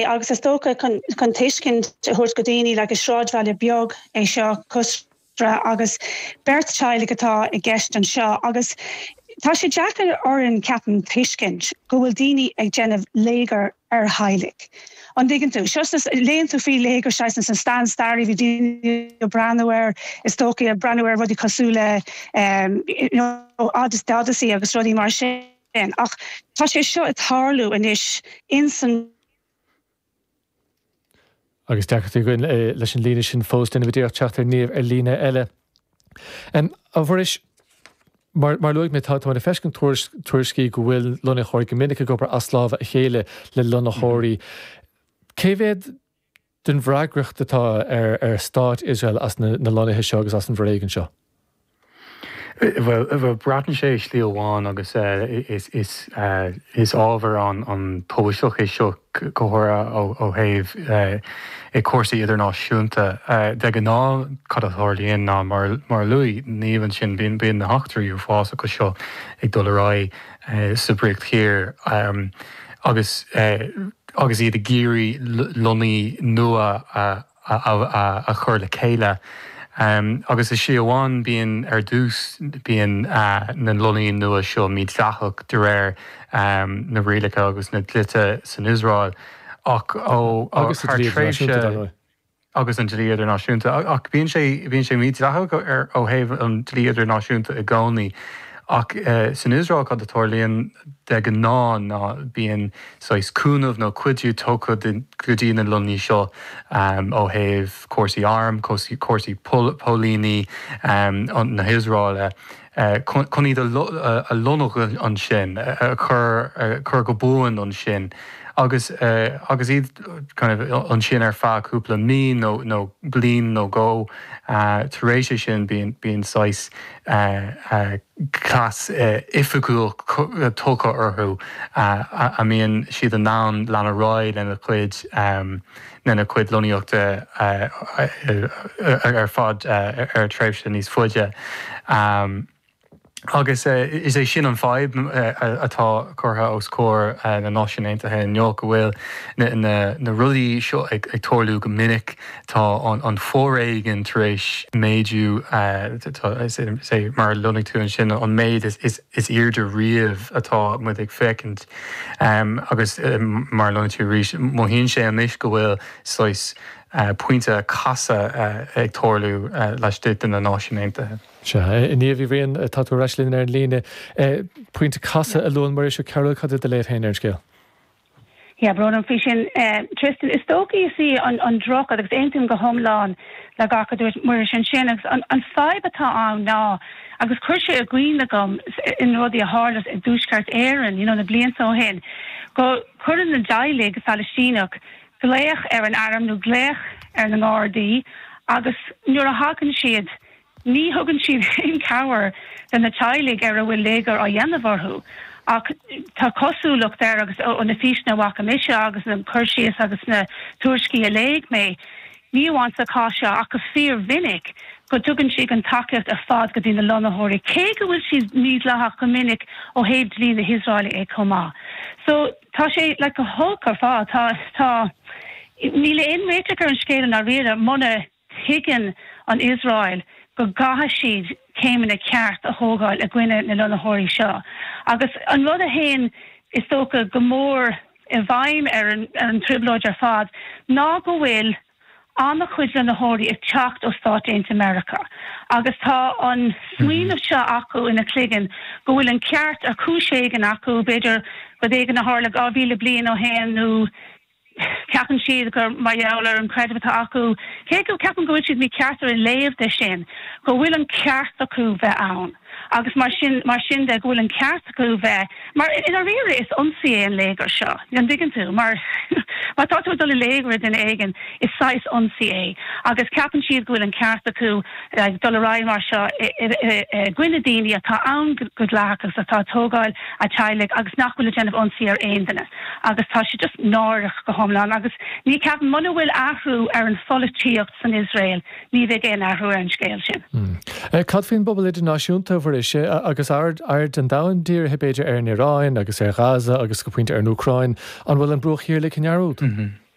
Agus is dócha chun tuiscint a thabhairt go daoine, like is sráidbhaile beag é seo, Qusra, agus beirt teaghlaigh atá i gceist anseo agus tá sé deacair orainn, ceapaim, tuiscint go bhfuil daoine ag déanamh léigear ar theaghlaigh. An dtuigeann tú? Seo sna, léann tú faoi léigear saghas sna stan stairí, bhí daoine ag breathnú air, is dócha, ag breathnú ar rudaí cosúil le you know The Odyssey agus rudaí mar sin. Ach tá sé seo ag tarlú anois ins an. Agus deacrachtaí againn leis an líne sin fós, déanfaimid iarracht teacht ar Niamh ar líne eile. A Mhuiris, mar a luaigh mé, tá muid ag feiscint tuairiscí go bhfuil lonnaitheoirí go minic ag obair as lámha a chéile le lonnaitheoirí. Cé mhéad den bhfreagracht atá ar stát Iosrael as na lonnaithe seo agus as an bhforéigean seo? Bhuel, braitheann sé i slí amháin agus is ábhar an-tubaisteach é seo go háirithe ó thaobh cúrsaí idirnáisiúnta. De ghnáth cad a tharlaíonn ná mar a luaigh Niamh ansin, bíonn na heachtraí uafásacha seo ag dul ar aghaidh sa Bhríoch Thiar agus agus iad ag iarraidh lonnaí nua a chur le chéile. Agus i slí amháin bíonn, ar dtús, bíonn na lonnaí nua seo mídhleathach de réir na rialacha agus na dlíthe san Iosrael ach ó Agus sa thar dlí tréimhse idirnáisiúnta, dar ndóigh. agus an dlí idirnáisiúnta. Ach bíonn sé, bíonn sé mídhleathach ar, ó thaobh an dlí idirnáisiúnta i gcónaí. Ach san Iosrael cad a tarlaíonn de ghnáth ná bíonn saghas cúnamh nó cuidiú tugtha go dtí na lonnaí seo ó thaobh cúrsaí airm, cúrsaí póilíní na hIosraeile. chun iad a lonnú ansin, a chur go buan ansin agus agus iad kind of ansin ar feadh cúpla mí nó nó bliain nó dhó. Tar éis é sin bíonn bíonn saghas cleas oifigiúil tugtha orthu a mbíonn siad in ann lean ar aghaidh lena gcuid lena gcuid lonnaíochta ar fad ar tréimhse níos faide. Agus is é sin an fadhb atá curtha os comhair na Náisiún Aontaithe inniu, go bhfuil na rudaí seo ag tarlú go minic. Tá an foréigean tar éis méadú, is é mar a luaigh tú ansin, an méid is airde riamh atá muid ag féachaint. Agus mar a luaigh tú arís, mothaíonn sé anois go bhfuil saghas pointe casadh ag tarlú laistigh de na Náisiúin Aontaithe. Sea, a Niamh Uí Bhriain, tá tú ar ais linn ar an líne. Pointe casadh a luann Muiris Ó Cearúil, cad é do léamh féin ar an scéal? Yeah, brón orm faoi sin, Tristan. Is dócha is í an drochrud, agus aontaím go hiomlán le gach a dúirt Muiris ansin, agus an fadhb atá ann ná, agus chuir sé i gcuimhne dom in rudaí a tharla i dTuaisceart Éireann, you know, na blianta ó shin, go cuireann na teaghlaigh Phalaistíneach glaoch ar an arm nó glaoch ar na nGardaí agus nuair a thagann siad, Ní thugann siad aon chabhair do na teaghlaigh ar a bhfuil léigear á dhéanamh orthu ach tá cosúlacht air agus ó na físeanna a bhfaca mise agus na cur síos agus na tuairiscí a léigh mé, ní amháin sa chás seo ach go fíormhinic, go dtugann siad an tacaíocht ar fad go dtí na lonnaitheoirí, cé go bhfuil siad mídhleathach go minic ó thaobh dlí na hIosraeile é chomh maith. So tá sé like go holc ar fad. Tá, tá, níl aon réiteach ar an scéal i ndáiríre muna. Tuigeann an Iosrael go gcaithfidh siad céimeanna ceart a thógáil i gcoinne na lonnaitheoirí seo. Agus an rud a théann, is dócha, go mór i bhfeidhm ar an trioblóid ar fad ná go bhfuil an-chuid lonnaitheoirí ag teacht ó Stáit Aontaithe Meiriceá agus tá an smaoineamh seo acu ina gcloigeann go bhfuil an ceart ar chúis éigin acu, b'fhéidir rud éigin a tharla 2,000 bliain ó shin nó Ceapann siad gur mar gheall ar an creideamh atá acu, cé go ceapaim go bhfuil siad mícheart ar a léamh de sin, go bhfuil an ceart acu bheith ann agus mar sin, mar sin de, go bhfuil an ceart acu bheith, mar i ndáiríre is ionsaí é an léigear seo, an dtuigeann tú? Mar má tá tú ag dul ag léigear duine éigin, is saghas ionsaí é agus ceapann siad go bhfuil an ceart acu dul ar aghaidh mar seo i gcoinne daoine atá ann go dleathach agus atá ag tógáil a teaghlaigh agus nach bhfuil ag déanamh ionsaí ar aon duine. Agus tá sé just náireach go hiomlán agus ní ceapaim, muna bhfuil athrú ar an pholaitíocht san Iosrael ní bheidh aon athrú ar an scéal sin. Cad faoin bpobal idirnáisiúnta, a Mhuiris, agus aird an domhain dírithe b'fhéidir ar an Iaráin agus ar Ghaza agus go pointe ar an Úcráin, an bhfuil an Bruach Thiar ligthe i ndearúd?